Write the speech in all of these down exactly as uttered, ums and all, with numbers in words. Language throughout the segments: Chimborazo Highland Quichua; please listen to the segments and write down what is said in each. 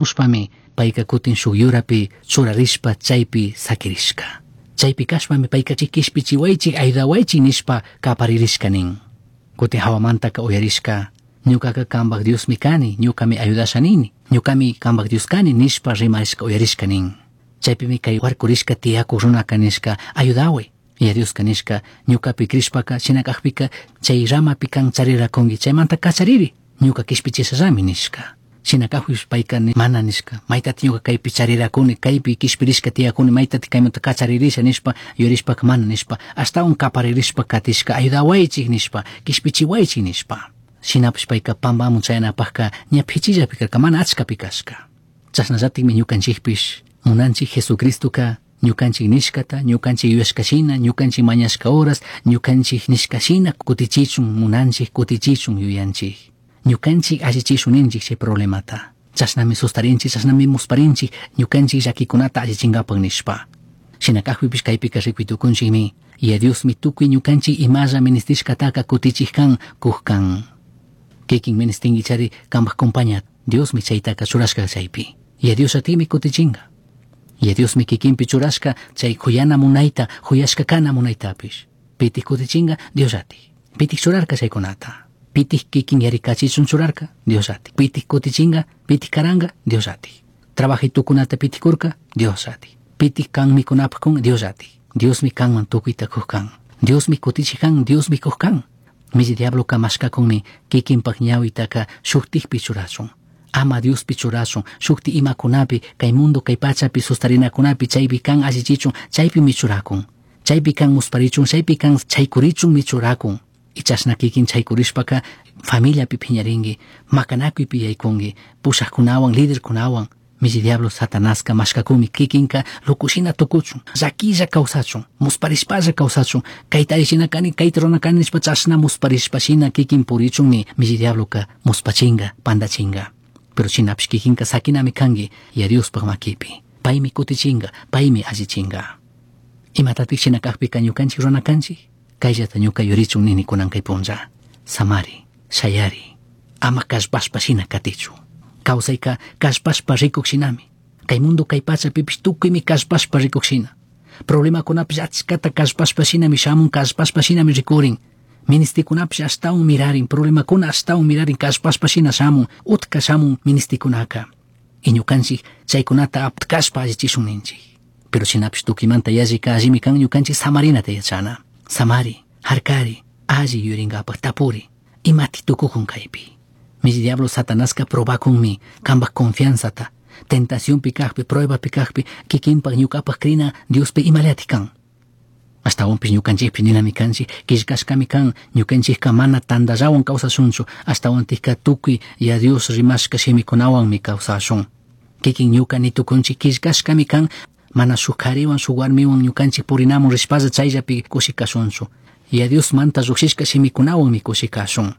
Ushpami payka kutin shuk yurapi churarishpa chaypi sakirishka. Chaypi kashpami payka kishpichiwaychik ayudawaychik nishpa kaparirishka nin. Kutin hawamantaka uyarishka ñukaka kambak Diosmi kani, ñukami ayudasha nini, ñukami kambak Dios kani nishpa rimarishka uyarishka nin. Chaypimi kay warkurishka tiyakuk runaka nishka ayudaway. Yaya Dioska nishka ñukapi crishpaka shina kakpika chay ramapi kan charirakunki chaymanta kachariri ñuka kishpichishallami nishka. Shina kakpish payka mana nishka maytati ñuka kaypi charirakuni kaypi kishpirishka tiyakuni maytati kaymanta kacharirisha nishpa yuyarishpaka mana nishpa ashtawan kaparirishpa katishka ayudawaychik nishpa kishpichiwaychik nishpa. Shinapish payka pampamun chayanapakka ña pichillapi karka mana achkapi kashka. Chashnallatikmi ñukanchikpish munanchik Jesucristoka ñukanchik nishkata ñukanchik yuyashkashina ñukanchik mañashka horas ñukanchik nishkashina kutichichun munanchik kutichichun yuyanchik. Ñukanchik allichishun ninchik chay problemata. Chashnami sustarinchik, chashnami musparinchik ñukanchik llakikunata allichinkapak nishpa. Shina kakpipish kaypika rikuy tukunchikmi Yaya Diosmi tukuy ñukanchik imalla ministishkataka kutichik kan kuk kan. Kikin ministinki chari kampak compaña Diosmi chaytaka churashka chaypi. Yaya Dios atimi kutichinka. Yaya Diosmi kikinpi churashka chay kuyana munayta, kuyashka kana munaytapish. Pitik kutichinka Dios ati. Pitik churarka chaykunata. Pitik kikin yarikachichun churarka Dios ati. Pitik kutichinka, pitik karanka Dios ati. Trabajitukunata pitik kurka Dios ati. Pitik kan mikunapaq kun Dios ati. Diosmi kanman tukuyta kuq kan. Diosmi kutichik kan, Diosmi kuq kan. Milli diabloka mashkakunmi kikinpak ñawitaka shuktikpi churachun. Ama Diospi churachun, shukti imakunapi, kay mundo kay pachapi sustarinakunapi chaypi kan allichichun, chaypimi churakun. Chaypi kan musparichun, chaypi kan chaykurichunmi churakun. Y chashna kikin chaykurishpaka familiapi phiñarinki, makanakuypi yaykunki, pushaqkunawan, liderkunawan. Milli diablo Satanaska mashkakunmi kikinka lukushina tukuchun, llakilla kawsachun, musparishpalla kawsachun, kayta allichina kani, kayta rurana kani nishpa chashna musparishpashina kikin purichunmi milli diabloka muspachinka, pandachinka. Pero shinapish kikinka sakinami kanki Yaya Diospaj makipi. Paymi kutichinka, paymi allichinka. Imatatik shina kakpika ñukanchik rurana kanchik? Kayllata ñuka yurichun nini kunan kay punlla. Samari, shayari, ama kallpashpa shina katichu. Kawsayka kallpashpa rikuk shinami. Kay mundo kay pachapipish tukuymi kallpashpa rikuk shina. Problemakunapish achkata kallpashpa shinami shamun, kallpashpa shinami rikurin. Ministikunapish ashtawan mirarin, problemakuna ashtawan mirarin, kallpashpa shina shamun, utka shamun ministikunaka. Y ñukanchik chaykunata aptkashpa allichishun ninchik. Pero shinapish tukuymanta yallika allimi kan ñukanchik samarinata yachana. Samari, harkari, alli yurinkapak tapuri, imati tukukun kaypi. Milli diablo Satanaska probakunmi kampak confianzata, tentacionpi kakpi, pruebapi kakpi, kikinpak ñukapak krina Diospi imallati kan. Ashtawanpish ñukanchikpi ninami kanchik, killkashkami kan, ñukanchikka mana tandallawan kawsashunchu, ashtawantikka tukuy Yaya Dios rimashka shimikunawanmi kawsashun. Kikin ñuka nitukunchik killkashkami kan, mana shuk kariwan shuk warmiwan ñukanchik purinamun rishpalla chayllapi kushi kashunchu. Yaya Diosmanta llukshishka shimikunawanmi kushi kashun.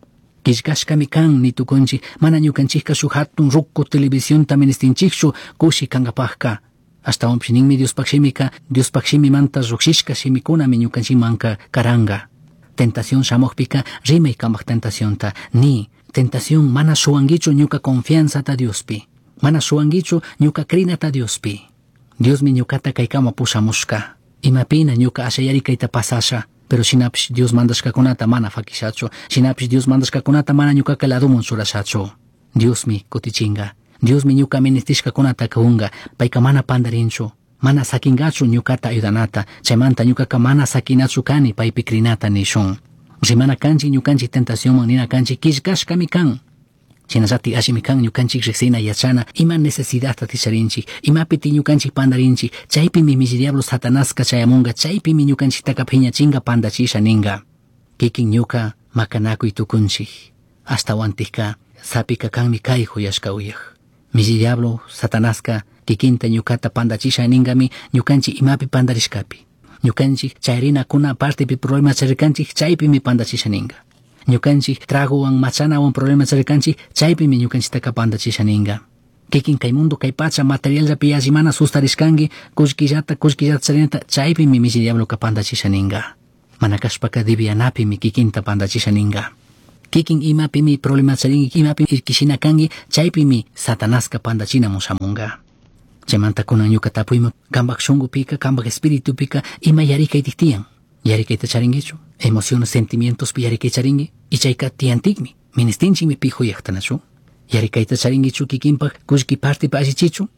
Killkashkami kan nitukunchik, mana ñukanchikka shuk hatun ruku televisionta ministinchikchu kushi kankapakka. Ashtawanpish ninmi Diospaj shimika, Diospaj shimimanta llukshishka shimikunami ñukanchikmanka karanka. Tentación shamukpika rimay kampak tentacionta, ni tentación mana shuwankichu ñuka confianzata Diospi, mana shuwankichu ñuka krinata Diospi. Diosmi ñukata kaykama pushamushka. Imapina ñuka ashayari kayta pasasha, pero shinapish Dios mandashkakunata mana fakishachu, shinapish Dios mandashkakunata mana ñukaka ladumun churashachu. Diosmi kutichinka. Diosmi ñuka ministishkakunata kunga, payka mana pandarinchu, mana sakingachu ñukata ayudanata, chaymanta ñukaka mana sakinachu kani paypi krinata nishun. Rimana kanchik ñukanchik tentacionman nina kanchik killkashkami kan. Shinallatik allimi kan ñukanchik riksina yachana ima necesidadta ticharinchik, imapiti ñukanchik pandarinchik, chaypimi milli diablo Satanaska chayamunga, chaypimi ñukanchiktaka phiñachinga pandachisha ninga. Kikin ñuka makanakuy tukunchik, ashtawantikka sapika kanmi kay huyashka uyaj. Milli diablo Satanaska kikinta ñukata pandachisha ningami ñukanchik imapi pandarishkapi. Ñukanchik chayrinakuna partepi problema charirkanchik chaypimi pandachisha ninga. Ñukanchik tragowan machanawan problema charirkanchik chaypimi ñukanchiktaka pandachisha ninga. Kikin kay mundo kay pacha materialllapi yalli mana sustarishkanki kullkillata kullkillata charinata chaypimi milli diabloka pandachisha ninga. Mana kashpaka divianapimi kikinta pandachisha ninga. Kikin imapimi problema charinki, imapi irkishina kanki, chaypimi Satanaska pandachinamun shamunga. Chaymanta kunan ñuka tapuyman kanpak shunkupika, kanpak espiritupika ima yarikaytik tiyan. Yarikayta charinkichu? Emociones, sentimientospi yarikay charinki? Y chayka tiyantikmi, ministinchikmi pi huyaqtanachu? Yarikayta charinkichu kikinpak kullki partipi allichichu?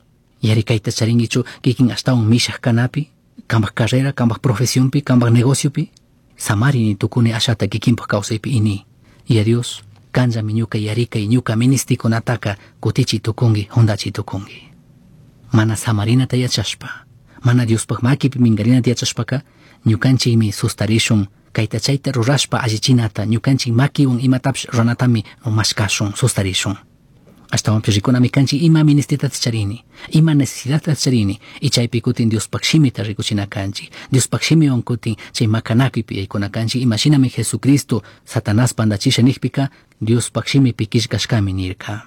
Yarikayta charinkichu kikin ashtawan mishaq kanapi? Kanpak carrera, kanpak profesionpi, kanpak negociopi? Samarini tukuni ashata kikinpak kawsaypi ini. Y a Dios, kanllami ñuka yarikay, ñuka ministikunataka kutichi tukunki, hundachi tukunki. Mana samarinata yachashpa, mana Diospaj makipi minkarinata yachashpaka, ñukanchikmi sustarishun, kayta chayta rurashpa allichinata, ñukanchik makiwan imatapish ruranatami mashkashun, sustarishun. Ashtawanpish rikunami kanchik ima ministitata charini, ima necesidadta charini, y chaypi kutin Diospaj shimita rikuchina kanchik. Diospaj shimiwan kutin chay makanakuypi yaykuna kanchik, imashinami Jesucristo Satanás pandachisha nijpika, Diospaj shimipi killkashkami nirka.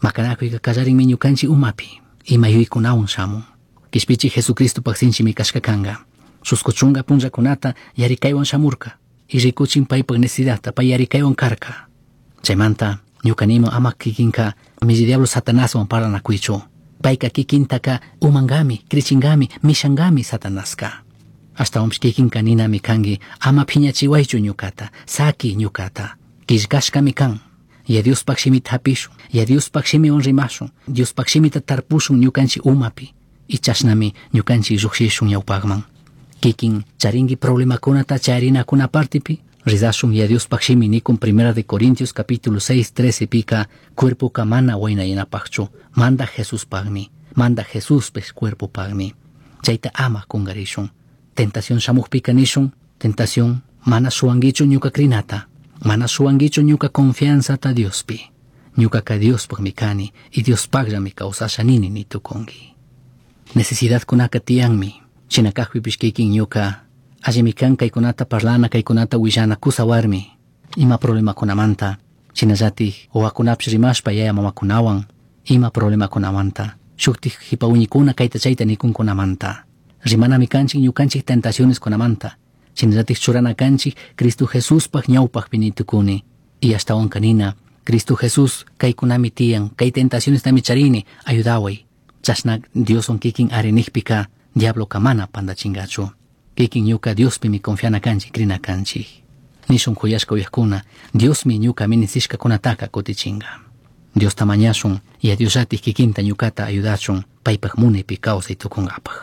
Makanakuyka kallarinmi ñukanchik umapi, ima yuyaykunawan shamun. Kishpichi Jesucristopaj sinchimi kashka kanka. Chusku chunka punllakunata yarikaywan shamurka, y rikuchin paypak necesidadta, pay yarikaywan karka. Chaymanta ñuka nima ama kikinka milli diablo Satanaswan parlanakuychu. Payka kikintaka umankami, krichinkami, mishankami Satanaska. Ashtawanpish kikinka ninami kanki, ama phiñachiwaychu ñukata, saki ñukata, killkashkami kan. Ya Diospaj shimita hapishun, ya Diospaj shimiwan rimashun, Diospaj shimita tarpushun ñukanchik umapi, y chashnami ñukanchik llukshishun ñawpakman. Kikin charinki problemakunata charinakuna partipi, rizashun ya Diospaj shimi nikun Primera de Corintios capítulo seis, trece pika, cuerpoka mana waynayanapajchu, manda Jesuspajmi, manda Jesuspis cuerpopajmi. Chayta ama kungarishun. Tentación shamujpika nishun, tentación mana shuwankichu ñuka krinata, mana shuwankichu ñuka confianzata Diospi. Ñukaka Diospajmi kani y Diospajllami kawsasha nini nitukunki. Necesidadkunaka tiyanmi, shina kajpipish kikin ñuka allimi kan kaykunata parlana, kaykunata willana kusa warmi, ima problemakunamanta, shinallatik wawakunapish rimashpa yaya mamakunawan, ima problemakunamanta, shuktik jipa uñikuna kayta chayta nikunkunamanta, rimanami kanchik ñukanchik tentacioneskunamanta, shinallatik churana kanchik Cristo Jesuspaj ñawpajpi nitukuni, y ashtawan kanina, Cristo Jesús kaykunami tiyan, kay tentacionestami charini, ayudaway. Chashna Dioswan kikin arinijpika, diabloka mana pandachingachu. Kikin ñuka Diospimi confiana kanchik, krina kanchik. Nishun kuyashka uyajkuna, Diosmi ñuka ministishkakunataka kutichinga. Diosta mañashun, y a Diosllatik kikinta ñukata ayudachun, paypaj munaypi kawsay tukunkapaj.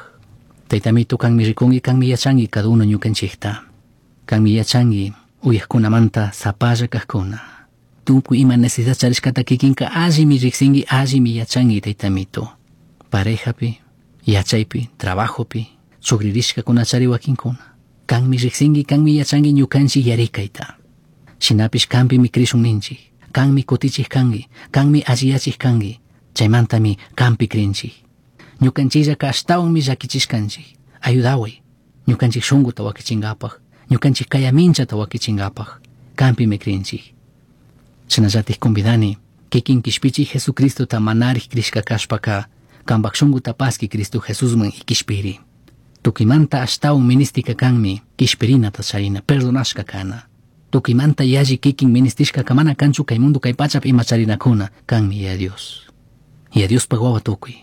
Taytamito, kanmi rikunki, kanmi yachanki cada uno ñukanchikta. Kanmi yachanki uyajkunamanta sapalla kajkuna. Tukuy ima necesidad charishkata kikinka allimi riksinki, allimi yachanki, taytamito. Parejapi, yachaypi, trabajopi, chukririshkakuna chari wakinkuna. Kanmi riksinki, kanmi yachanki ñukanchik yarikayta. Shinapish kanpimi krishun ninchik, kanmi kutichik kanki, kanmi alliyachik kanki, chaymantami kanpi krinchik. Ñukanchillaka ashtawanmi llakichishkanchik. Ayudaway, ñukanchik shunkuta wakichinkapaj, ñukanchik kayaminchata wakichinkapaj, kanpimi krinchik. Shinallatik convidani, kikin kishpichik Jesucristota manarik krishka kashpaka, kanpak shunkuta paski Cristo Jesusman y kishpiri. Tukimanta ashtawan ministika kanmi, kishpirinata charina, perdonashka kana. Tukimanta yalli kikin ministishka mana kanchu kay mundo kay pachapi ima charinakuna, kanmi ya Dios. Ya Diospaj wawa tukuy.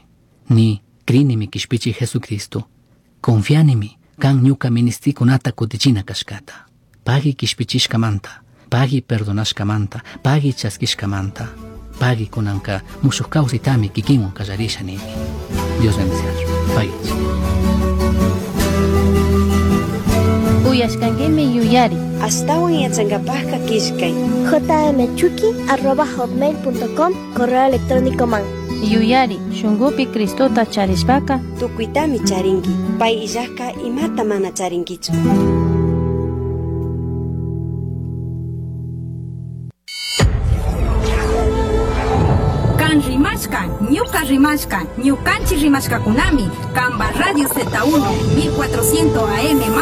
Ni krinimi kishpichi Jesucristo. Confianimi kan ñuka ministikunata kutichina kashkata. Pagi kishpichishkamanta, pagi perdonashkamanta, pagi chaskishkamanta, pagi kunanka mushuj kawsaytami kikinwan kallarisha nini. Dios bendiciachu. Pagich. Uyashkankimi yuyari. Ashtawan yachankapajka killkay. jmchuki arroba hotmail punto com, correo electrónico man. Yuyari, shunkupi Cristota charishpaka tukuytami charinki, pay illajka imata mana charinkichu. Kan rimashka, ñuka rimashka, ñukanchi rimashkakunami, Kamba Radio Z uno, mil cuatrocientos A M man